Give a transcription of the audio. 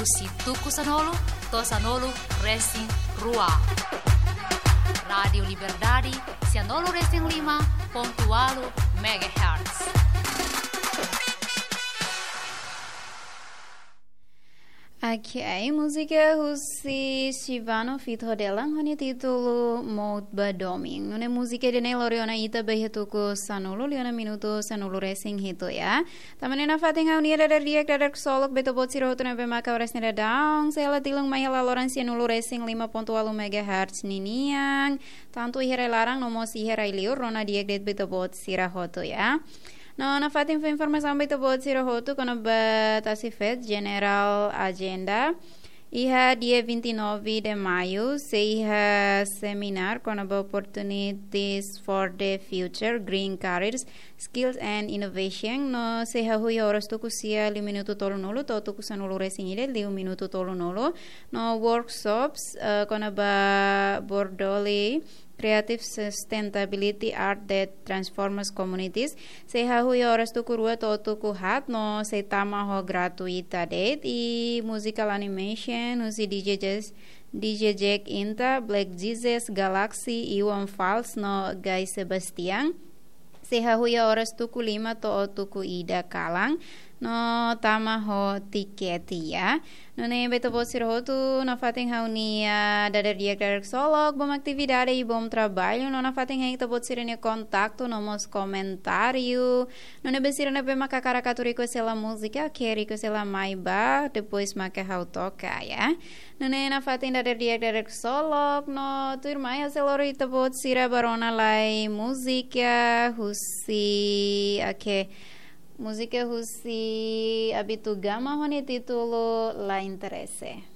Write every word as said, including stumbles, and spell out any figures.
Husi tuku sanulu to'o sanulu resin rua. Rádiu Liberdade, sanulu resin lima pontu ualu megahertz. Ok, múzika husi Shivano feat Hodelan ho nia títulu Mout ba Domin. Nune'e múzika ida-ne'e lori ona ita ba iha tuku sanulu liu ona minutu sanulu resin hitu ya. Tanba ne'e nafatin ha'u-nia dadeer-di'ak, dadeer ksolok ba ita-boot sira hotu ne'ebé maka oras ne'e daudaun sei hela tilun mai hela loron sanulu resin lima pontu ualu megahertz ninian, tantu iha rai-laran no mós iha rai-liur, rona di'ak de'it ba ita-boot sira hotu ya. No nafatin fó informasaun ba ita-boot sira hotu kona-ba Tasifet, General Agenda. Iha dia vinte e nove de maio sei iha seminar kona-ba Opportunities for the Future, Green Careers, Skills and Innovation, no sei hahú iha oras tuku sia liu minutu tolunulu to'o tuku sanulu resin ida liu minutu tolunulu, no workshops, eh, kona-ba Bordoli, Creative Sustainability Art that Transforms Communities, sei hahú iha oras tuku rua to'o tuku haat no sei tama ho gratuita de'it. I musical animation husi D J Jazz, D J Jack Inta, Black Jesus, Galaxy, Iwan Fals no Guy Sebastian, sei hahú iha oras tuku lima to'o tuku ida kalan no tama ho tiket ya. Nune'e ba ita-boot sira hotu, nafatin ha'u-nia dadeer-di'ak, dadeer ksolok, bom atividade i bom traballu, no nafatin hein ita-boot sira-nia kontaktu no mós komentáriu. Nune'e ba sira ne'ebé maka hakarak atu request hela múzika, ke request hela mai ba, depois maka ha'u toka ya. Nune'e nafatin dadeer-di'ak, dadeer ksolok, no tuirmai ha'u sei lori ita-boot sira ba rona lai múzika husi, ok, múzika husi Abitu Gama ho nia títulu La Interese.